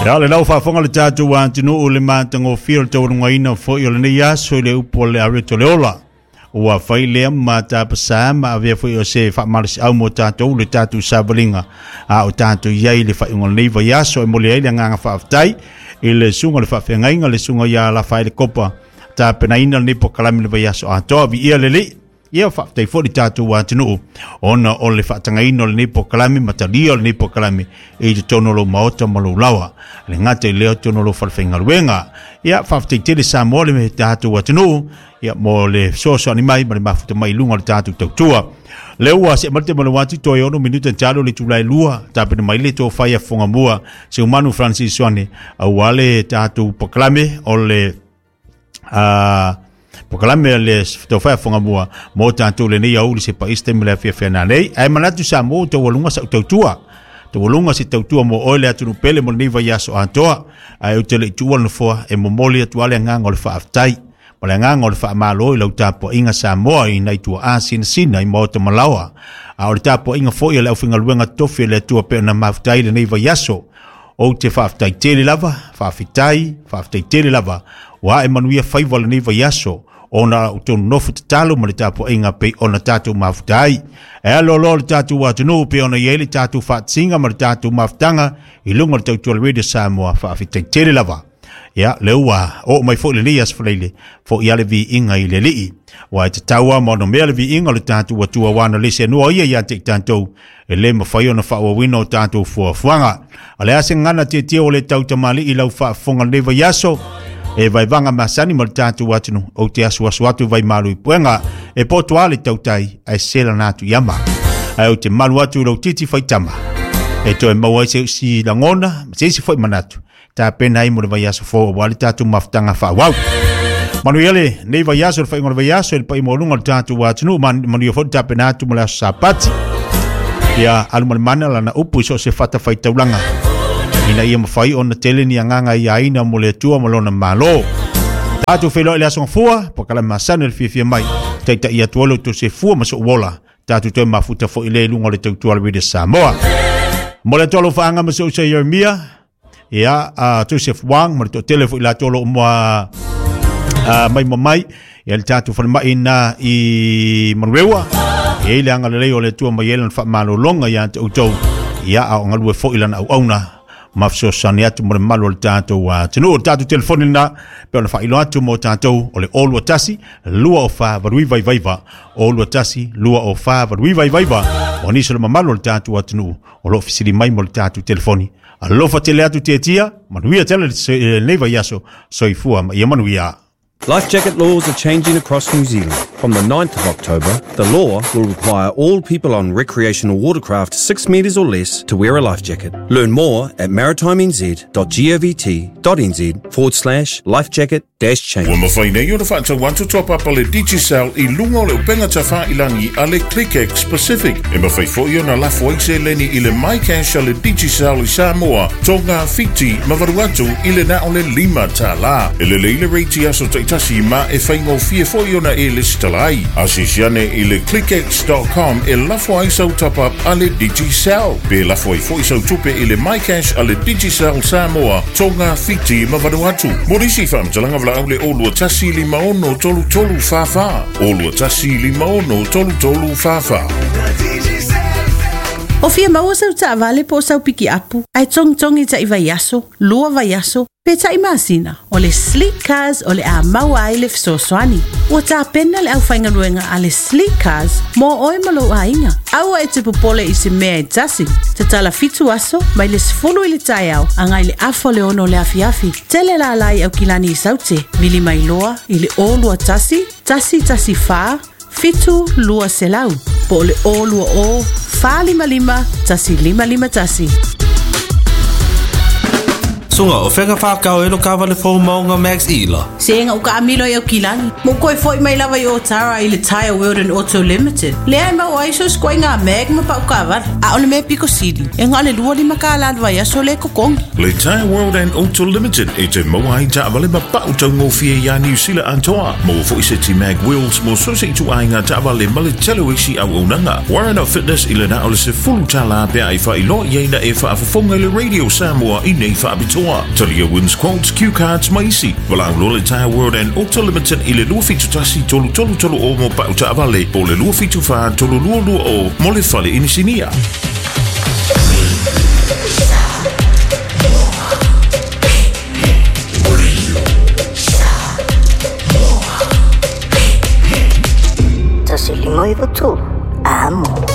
Ia le lau faafofoga le tatou atunuu le matagofie o le taualugaina foi o lenei aso i le upu o le areto le ola. Ua fai lea ma tapasā ma avea foi o se faamalosiau mo tatou le tatou savaliga a o tatou i ai i le faaiuga o lenei vaiaso. E momoli ai le agaga faafetai i le susuga o le faafeagaiga le susuga ia Lafaele Kopa tapenaina lenei polokalame i le vaiaso atoa. Viia le Alii. Ia faafetai foi le tatou atunuu ona o le faatagaina o lenei polokalame ma talia o lenei polokalame i totonu o lou maota ma lou lawa. Le gata i lea totonu o lou falefaigaluega. Ia faafetai tele Samoa le tatou atunuu ia mo le fesoasoani mai ma le mafuta mai i luga o le tatou tautua. Lea ua see mai le taimi o le wati toe 6 minute talo le itula e 2 tapena mai le tofa ia Fogamua Seumanu Francis Ioane aua le tatou polokalame o le polokalame a le tofa ia Fogamua mo tatou lenei aoauli se paisi taimi o le afiafi ana nei. Ae manatu Samoa ua taualuga sau tautua. Taualuga se tautua mo oe le atunuu pele mo lenei vaiaso atoa. Ae ou te le i tuua le nofoa e momoli atu lava le agaga o le faafetai ma le agaga o le faamalo i lau tapuaiga Samoa i nai tuaa sinasina i maota malaoa. A o le tapuaiga foi a le aufaigaluega totofi a le Atua pei ona mafuta ai lenei vaiaso. Ou te faafetai tele lava, faafetai, faafetai tele lava, ua ae manuia faiva o lenei vaiaso, ona o outou nofo tatalo ma le tapuaiga pei ona tatou mafuta ai. E aloaloa le tatou atunuu pei ona i ai le tatou faatasiga ma le tatou mafutaga i luga o le tautua Radio Samoa, faafetai tele lava. Ia, lea ua oo mai foi lenei aso Faraile, foi lava le viiga i le Alii. Aua e tatau lava ma onomea le viiga o le tatou Atua aua na le seanoa ia ia te i tatou, e le mafai ona faaauauina o tatou fuafuaga. O le a se gagana tietie ua le tautamalii i lau faafofoga lenei vaiaso, e vaevaga masani ma le tatou atunuu, ou te asuasu atu vaimalu i puega, e poto lava le tautai, ae selana atu i ama. Ae ou te malu atu i lou titi faitama, e toe maua ai se isi lagona ma se isi foi manatu, tapena ai mo le vaiaso fou aua le tatou mafutaga faaauau. Manuia lenei vaiaso, le faaiuga o le vaiaso, i le paia maualuga o le tatou atunuu, manuia foi le tapena atu mo le aso Sapati. Ia alu ma le mana lana upu i so o se fatafaitaulaga, ina ia mafai ona tele ni agaga ia aina mo le Atua ma lona Malo. Tatou feiloai le aso Gafua, polokalame masani o le fiafia mai, taitai atu ai lo outou soifua ma sou ola. Tatou toe mafuta foi lea i luga o le tautua a le Radio Samoa. Mo le atoa alofaaga ma si ou uso Jeremia, ia, a Joseph Wang, ma le toatele foi latou o lo o mua mai ma mai, ia le tatou falemai na i Manurewa, e i le agalelei o le Atua mai ai lana faamalologa ia te outou, ia, a o galue foi lana auauna ma fesoasoani atu mo le malu o le tatou atunuu. O le tatou telefoni lena, pe ona faailoa atu mo tatou, o le 021 204 8999, 021 204 8999. O nisi o le mamalu o le tatou atunuu o lo o fesili mai mo le tatou telefoni. Alofa tele atu Tietia, manuia tele lenei vaiaso, soifua ma ia manuia. Life jacket laws are changing across New Zealand. From the 9th of October, the law will require all people on recreational watercraft 6 metres or less to wear a life jacket. Learn more at maritimnz.govt.nz forward slash life jacket dash change. Ua mafai nei ona faatau atu toa papa le Digicel i luga o le upega tafailangi a le ClickX Pacific. E mafai foi ona lafo ai seleni i le MyCash a le Digicel i Samoa, Tonga, Fiti ma Vanuatu i le na o le $5. E lelei le rate i aso taitasi ma e faigofie foi ona e lesitala ai. Asiasi ane i le clickx.com e lafo ai sau top-up a le Digicel. Pe lafo ai foi sau tupe i le MyCash a le Digicel Samoa, Tonga, Fiti ma Vanuatu. Mo nisi faamatalaga valaau le 021 56 33 44. 021 56 33 44. O fia maua sau taavale po o sau pikiapu, ae togitogi ta'i vaiaso, lua vaiaso, pe ta'i masina, o le Sleek Cars o le a maua ai le fesoasoani. Ua tapena le aufaigaluega a le Sleek Cars mo oe ma lou aiga. Aua e te popole i se mea e tasi. Tatala 7 aso, mai le 10 i le taeao, agai le afa o le 6 o le afiafi. Tele lala i Aukilani i Saute, vili mai loa i le 021 114 7 200 po o le 020 455 1551. Suga, o fea whakao e lo kawale fō maunga Max Ila. Se nga uka amilo i Aukilani. Mo koe foi mai lava i Otara i le Tire World and Auto Limited. Lea e mau ai so skoe ngā mag ma pau kawara. A o le mea piko sili. E ngā le lua lima ka la vai aso le kokongi. Le Tire World and Auto Limited e te maua ai taavale ma pau taugofie iā Niu Sila atoa. Maua foi se ti mag wheels mo so se ituaiga taavale ma le tele o isi auaunaga. Warren Fitness i le na o le $10 pe a e faailoa i ai na e faafofoga i le Radio Samoa i nei faapitoa. Samoa. Talia Wins Quotes, Q Cards ma isi. Valaau loa le Tyre World and Auto Limited i le 271 3330 mo pau taavale po o le 274 3220 mo le fale inisinia. Tasi lima iwa tolu. Amo.